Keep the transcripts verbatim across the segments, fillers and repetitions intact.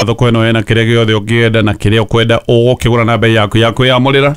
wa thoko ĩno ĩna kĩrĩa gĩothe ũngĩenda na kĩrĩa ũkwenda ũgũkĩgũra na bei yaku ya kwĩyamũrĩra.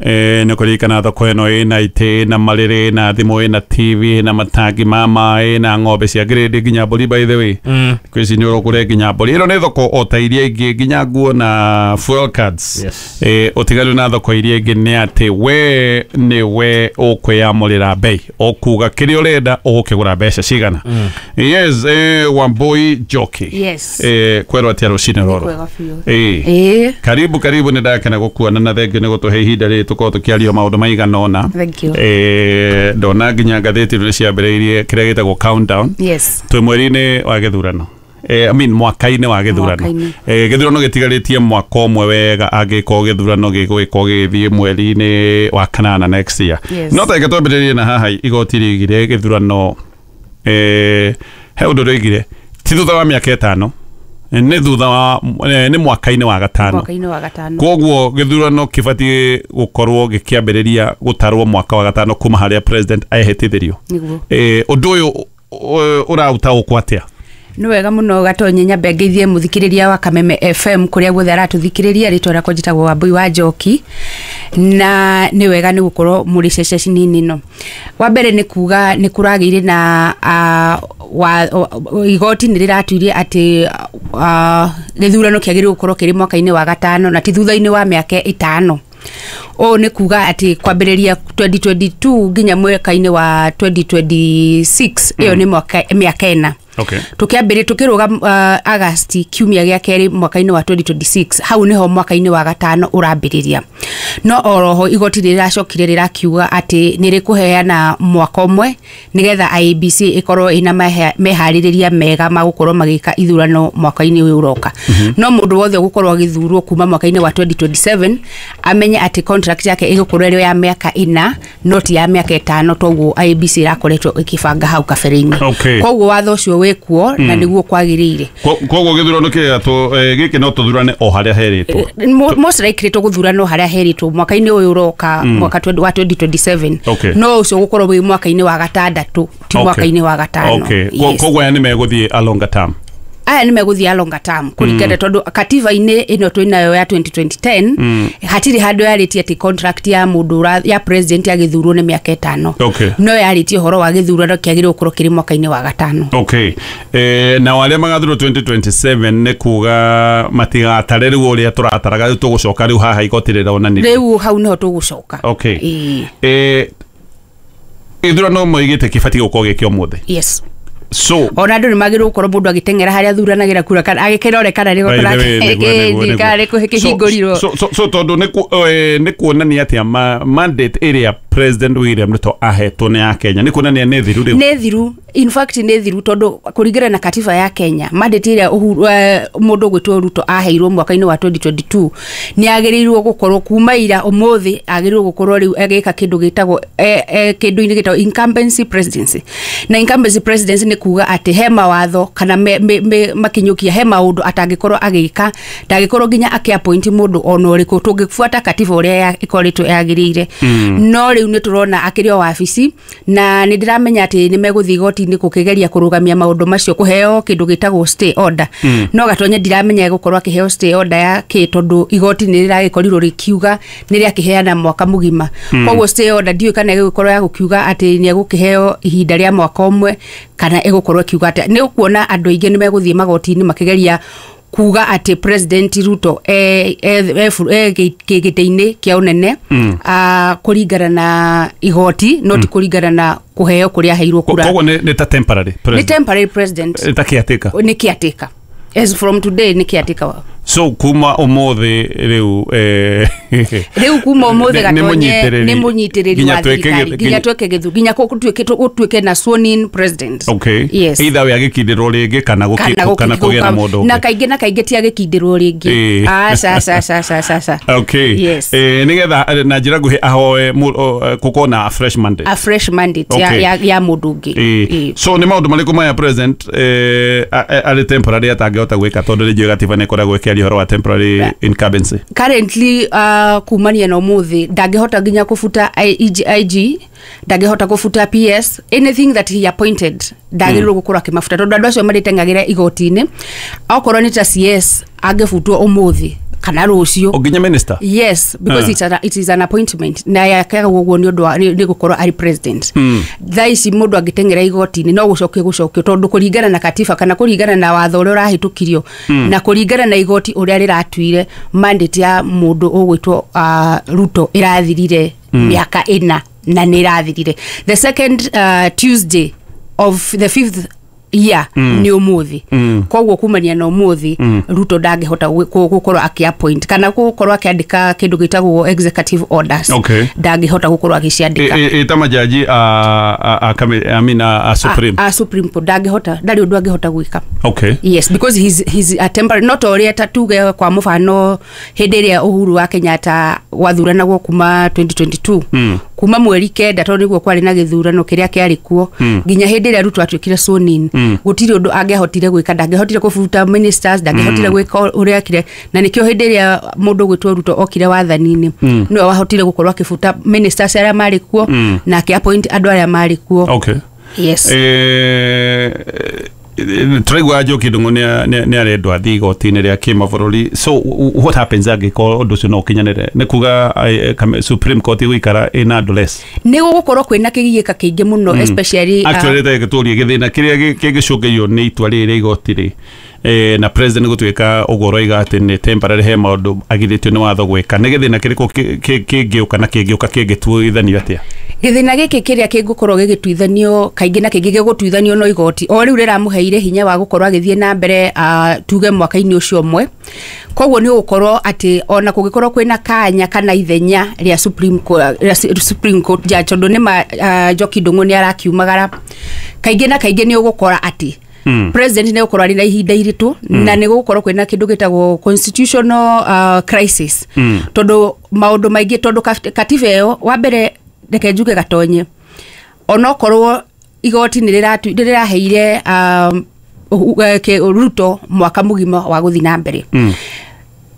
Eh, nĩ kũririkana thoko ĩno ĩna itĩ, ĩna marĩrĩ, ĩna thimũ, ĩna T V, ĩna matangi ma maĩ, ĩna ng'ombe cia grade nginya mbũri, by the way. Mm. Kwĩ ici nĩ ũrũgũre nginya mbũri. Ĩno nĩ thoko o ta iria ingĩ, nginya nguo na fuel cards. Yes. Eh, ũtiganu na thoko iria ingĩ nĩ atĩ we nĩ we ũkwĩyamũrĩra bei, ũkuga kĩrĩa ũrenda ũgũkĩgũra mbeca cigana. Mm. Yes, eh, Wambui Njoki. Yes. Eh, kwerwo atĩa rũcinĩ rũrũ? Kwega biũ. Eh. Ĩĩ. Karibu, karibu, nĩ ndakena gũkuona na thengio nĩ gũtũhe ihinda rĩrĩ tũkorwo tũkĩaria maũndũ maigana ũna. Thank you. Eh, ndona nginya ngathĩti nĩ ciambĩrĩirie kĩrĩa gĩtagwo countdown. Yes. Twĩ mweri-inĩ wa gĩthurano. Eh, I mean, mwaka-inĩ wa gĩthurano. Mwaka-inĩ. Eh, gĩthurano gĩtigarĩtie mwaka ũmwe wega angĩkorwo gĩthurano gĩgũgĩkorwo gĩgĩthiĩ mweri-inĩ wa kanana next year. Yes. No ta reke twambĩrĩrie na haha igoti rĩigire gĩthurano, eh, he ũndũ rĩoigire ti thutha wa mĩaka ĩtano, nĩ thutha wa, eh, nĩ mwaka-inĩ wa gatano. Mwaka-inĩ wa gatano. Koguo gĩthurano kĩbatiĩ gũkorwo gĩkĩambĩrĩria gũtarwo mwaka wa gatano kuma harĩa president ehĩtithirio. Nĩguo. Eh, ũndũ ũyũ ũraũtaũkwo atĩa? Nĩ wega mũno Gatonye, nyambe ngeithie mũthikĩrĩria wa Kameme F M kũrĩa guothe aratũthikĩrĩria. Rĩtwa rĩakwa njĩtagwo Wambui wa Njoki, na nĩ wega nĩ gũkorwo mũrĩ ceceni-inĩ ĩno. Wa mbere nĩ kuga nĩ kũragĩire na, a, wa, o, igoti nĩ rĩratuire atĩ, a, gĩthurano kĩagĩrĩirwo gũkorwo kĩrĩ mwaka-inĩ wa gatano na ti thutha-inĩ wa mĩaka ĩtano. Ũũ nĩ kuga atĩ kwambĩrĩria twenty twenty-two nginya mwaka-inĩ wa twenty twenty-six, ĩyo nĩ mwaka, mĩaka ĩna. Okay. Tũkĩambĩrĩria tũkĩrũga, uh, August kiumia gĩa kerĩ mwaka-inĩ wa twenty twenty-six, hau nĩho mwaka-inĩ wa gatano ũrambĩrĩria. No oroho igoti rĩracokire rĩrakiuga atĩ nĩ rĩkũheana mwaka ũmwe nĩgetha I E B C ĩkorwo ĩna meha-, meharĩrĩria mega ma gũkorwo magĩka ithurano mwaka-inĩ ũyũ ũroka. Mm-hmm. No mũndũ wothe ũgũkorwo agĩthurwo kuma mwaka-inĩ wa twenty twenty-seven amenye atĩ contract yake ĩgũkorwo ĩrĩ ya mĩaka ĩna, no ti ya mĩaka ĩtano, toguo I E B C ĩrakoretwo ĩkĩbanga hau kabere-inĩ. Okay. Koguo watho ũcio wĩkuo na Mm. nĩguo kwagĩrĩire. Ko-, koguo gĩthurano kĩrĩa tũ-, eh, gĩkĩ no tũthurane o harĩa herĩtwo. Eh, mo-, most likely tũgũthurana o harĩa herĩtwo mwaka-inĩ ũyũ ũroka, Mm. mwaka twen-, wa twenty twenty-seven. Okay. No ũcio ũgũkorwo wĩ mwaka-inĩ wa gatandatũ, ti Okay. mwaka-inĩ wa gatano. Okay. Ko-, Yes. koguo aya nĩ megũthiĩ a longer term. Aya nĩ megũthiĩ a longer term kũringana Mm. tondũ katiba-inĩ ĩno twĩnayo ya twenty twenty ten, Mm. hatirĩ handũ yarĩtie atĩ contract ya mũndũ ũra-, ya president agĩthurwo nĩ mĩaka ĩtano. Okay. No yarĩtie ũhoro wa gĩthurano kĩagĩrĩirwo gũkorwo kĩrĩ mwaka-inĩ wa gatano. Okay. Eh, nao arĩa magathurwo twenty twenty-seven nĩ kuga matigatare rĩu ũrĩa tũrataraga, rĩu tũgũcoka rĩu haha igoti rĩronanirie. Rĩu hau nĩho tũgũcoka. Okay. Ĩĩ. Eh, gĩthurano moigĩte kĩbatiĩ gũkorwo gĩkĩ ũmũthĩ. Yes. So, ona andũ nĩ magĩrĩirwo gũkorwo mũndũ agĩteng'era harĩa athuranagĩra kura kana agĩkĩrore kana nĩ By the gũkora way, nĩguo, nĩguo, nĩguo. kana nĩ kĩhingũrirwo. So, so, so tondũ nĩ ku-, eh, nĩ kuonania atĩa ma-, mandate ĩrĩa President William Ruto ahetwo nĩ ya Kenya, nĩ kuonania nĩ thiru rĩu? Nĩ thiru, in fact nĩ thiru tondũ kũringana na katiba ya Kenya, mandate ĩrĩa Uhuru, eh, mũndũ ũgwĩtwo Ruto aheirwo mwaka-inĩ wa twenty twenty-two nĩ agĩrĩirwo gũkorwo kuma ira ũmũthĩ agĩrĩirwo gũkorwo rĩu agĩka kĩndũ gĩtagwo, eh, eh, kĩndũ-inĩ gĩtagwo incumbency presidency. Na incumbency presidency nĩ kuga atĩ he mawatho kana me, me, me, makinyũkia, he maũndũ atangĩkorwo agĩka, ndangĩkorwo nginya akĩ-appoint mũndũ ona ũrĩkũ tũngĩbuata katiba ũrĩa ya-, ĩkoretwo yagĩrĩire. Mm. No rĩu nĩ tũrona akĩrĩ o wabici, na nĩ ndĩramenya atĩ nĩ megũthiĩ igoti-inĩ gũkĩgeria kũrũgamia maũndũ macio, kũheo kĩndũ gĩtagwo stay order. Mm. No Gatonye ndiramenya egũkorwo akĩheo stay order ya kĩ, tondũ igoti nĩ rĩragĩkorirwo rĩkiuga nĩ rĩakĩheana mwaka mũgima. Mm. Koguo stay order ndiũĩ kana ĩgũkorwo ya gũkiuga atĩ nĩ egũkĩheo ihinda rĩa mwaka ũmwe kana ĩgũkorwo ĩkiuga atĩa. Nĩ ũkuona andũ aingĩ nĩ megũthiĩ magoti-inĩ makĩgeria kuga atĩ President Ruto e, e, e, e, gĩtĩ-inĩ kĩa ũnene, Mm. a, kũringana na igoti, no ti Mm. kũringana na kũheo kũrĩa aheirwo kura. Koguo nĩ, nĩ ta temporary Nĩ president. temporary president. Nĩ ta caretaker. Nĩ caretaker. As from today nĩ caretaker. So kuma umuthi riu, eh, Riu kuma umuthi nĩ- nĩ Gatonye, mũnyitĩrĩri. nĩ mũnyitĩrĩri Nginya wa twĩke thirikari. gĩ- Nginya twĩke gĩthu-, nginya kũ-, gũtuĩke tũ-, gũtuĩke na sworn in president. Okay. Yes. Either we agĩkindĩrwo rĩngĩ kana gũki-, Kana gũki-, kana kũgĩa na mũndũ ũngĩ. Na kaingĩ na kaingĩ ti agĩkindĩrwo rĩngĩ. Ĩĩ. Aca, aca, aca, aca, aca, aca. Okay. Yes. Eh, nĩgetha, eh, na njĩra nguhĩ ahoe mũ-, o, eh, gũkorwo na a fresh mandate. A fresh mandate ya, Okay. ya, ya mũndũ ũngĩ. Ĩĩ. Ĩĩ. So nĩ maũndũ marĩkũ maya president, eh, a-, a-, arĩ temporary atangĩhota gwĩka tondũ rĩngĩ gatiba nĩ ĩkoragwo ĩkĩaria Tũkĩaria ũhoro wa temporary incumbency. Currently, uh, kumania na umuthi, ndangĩhota nginya kũbuta I G, I G, ndangĩhota kũbuta P S, anything that he appointed ndagĩrĩirwo gũkorwo akĩmabuta, tondũ andũ acio marĩteng'agĩra igoti-inĩ. Okorwo nĩ ta C S, angĩbutwo ũmũthĩ kana rũciũ. O nginya minister? Yes, because Ah. it's an, it is an appointment na yakaga ũguo nĩ ũndũ wa nĩ nĩ gũkorwo arĩ president. Mm. Thaa ici mũndũ angĩteng'era igoti-inĩ no gũcokio gũcokio, tondũ kũringana na katiba kana kũringana na watho ũrĩa ũrahĩtũkirio mm. na kũringana na igoti ũrĩa rĩratuire, mandate ya mũndũ ũgwĩtwo uh, Ruto ĩrathirire mĩaka ĩna na nĩ ĩrathirire the second uh, Tuesday of the fifth year, mm. nĩ ũmũthĩ. Mm. Koguo kumania na ũmũthĩ, mm. Ruto ndangĩhota gwĩ- kũ- gũkorwo akĩ-appoint kana gũkorwo akĩandĩka kĩndũ gĩtagwo executive orders. Okay. Ndangĩhota gũkorwo agĩciandĩka. Ĩ- ĩ- ĩta majaji a, a, a, kame- I mean, a, a Supreme. a, a Supreme Court ndangĩhota, ndarĩ ũndũ angĩhota gwĩka. Okay yes, because he's, he's a temporary, not ũrĩa ta tuge kwa mũbano hĩndĩ ĩrĩa Uhuru wa Kenyatta gwathuranagwo kuma twenty twenty-two, Mm. kuma mweri kenda, tondũ nĩguo kwarĩ na gĩthurano kĩrĩa kĩarĩ kuo, Mm. nginya hĩndĩ ĩrĩa Ruto atuĩkire sworn in, Mm. gũtirĩ ũndũ angĩahotire gwĩka. Ndangĩahotire kũbuta ministers, ndangĩahotire gwĩka ũrĩa ekire, na nĩkĩo hĩndĩ ĩrĩa mũndũ ũgwĩtwo Ruto okire wathani-inĩ, Mm. nĩwe wahotire gũkorwo akĩbuta ministers arĩa marĩ kuo Mm. na akĩ appoint andũ arĩa marĩ kuo. Okay yes. Eh, tũraigua Njoki Ndung'u nĩ arendwo athiĩ igoti-inĩ rĩa kĩmabũrũri. So w- what happens angĩkorwo ũndũ ũcio no ũkinyanĩre? Nĩ kuga eh, kame- Supreme Court ĩgũikara ĩna andũ less? Nĩ gũgũkorwo kwĩna kĩgiĩka kĩingĩ mũno, especially uh, Actually, reke tũrie, gĩthĩna kĩrĩa gĩ- kĩngĩcũngĩrio nĩ itua rĩrĩ rĩa igoti rĩ, eh, na president gũtuĩka ũguo ũroiga atĩ nĩ temporary, he maũndũ agirĩtio nĩ watho gwĩka, nĩ gĩthĩna kĩrĩkũ kĩ- kĩ- kĩngĩũka na kĩngĩũka kĩngĩtuithanio atĩa? Gĩthĩna gĩkĩ kĩrĩa kĩngũkorwo gĩgĩtuithanio kaingĩ na kĩngĩ gĩgũtuithanio no igoti o rĩu rĩramũheire hinya wa gũkorwo agĩthiĩ na mbere, uh, tuge mwaka-inĩ ũcio ũmwe. Koguo nĩ ũgũkorwo atĩ ona kũngĩkorwo kwĩna kanya kana ithenya rĩa Supreme Court, rĩa Supreme Court judge, tondũ nĩ ma uh, Njoki Ndung'u nĩ arakiumagara kaingĩ na kaingĩ, nĩ ũgũkora atĩ Mm. president nĩ gũkorwo arĩ na ihinda iritũ mm. na nĩ gũgũkorwo kwĩna kĩndũ gĩtagwo constitutional uh, crisis, Mm. tondũ maũndũ maingĩ, tondũ kat- katiba ĩyo, wa mbere reke njuge gatonye, onokorwo igoti nĩ rĩratu- nĩ rĩraheire um, Uhu- eh, kĩ- Ruto mwaka mũgima wa gũthiĩ na mbere, Mm.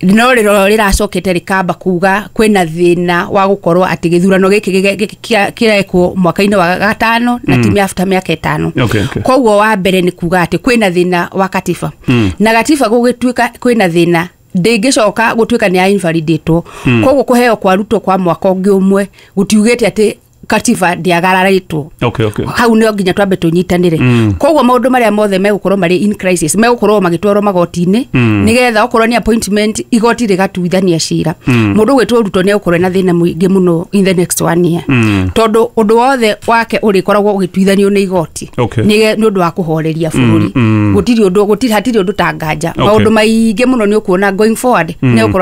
no rĩro rĩracokete rĩkamba kuga kwĩna thĩna wa gũkorwo atĩ gĩthurano gĩkĩ gĩge- gĩkĩ kĩa- kĩrekwo mwaka-inĩ wa gatano na ti after mĩaka ĩtano. Okay, okay. Koguo wa mbere nĩ kuga atĩ kwĩna thĩna wa katiba, Mm. na gatiba gũgĩtuĩka kwĩna thĩna, ndĩngĩcoka gũtuĩka nĩ ya invalidatwo. Mm. Koguo kũheo kwa Ruto kwa mwaka ũngĩ ũmwe gũtiugĩte atĩ katiba ndĩagararĩtwo. Okay, okay. Hau nĩo nginya twambe tũnyitanĩre. Mm. Koguo maũndũ marĩa mothe megũkorwo marĩ in crisis megũkorwo magĩtwarwo magoti-inĩ, Mm. nĩgetha okorwo nĩ appointment, igoti rĩgatuithania cira. Mm. Mũndũ ũgwĩtwo Ruto nĩ egũkorwo na thĩna mũingĩ mũno in the next one year, Mm. tondũ ũndũ wothe wake ũrĩkoragwo ũgĩtuithanio nĩ igoti. Okay. nĩ nĩ ũndũ wa kũhoreria bũrũri. Mm, mm. Gũtirĩ ũndũ, gũtirĩ, hatirĩ ũndũ ta nganja. Okay. Maũndũ maingĩ mũno nĩ ũkuona going forward nĩ egũkorwo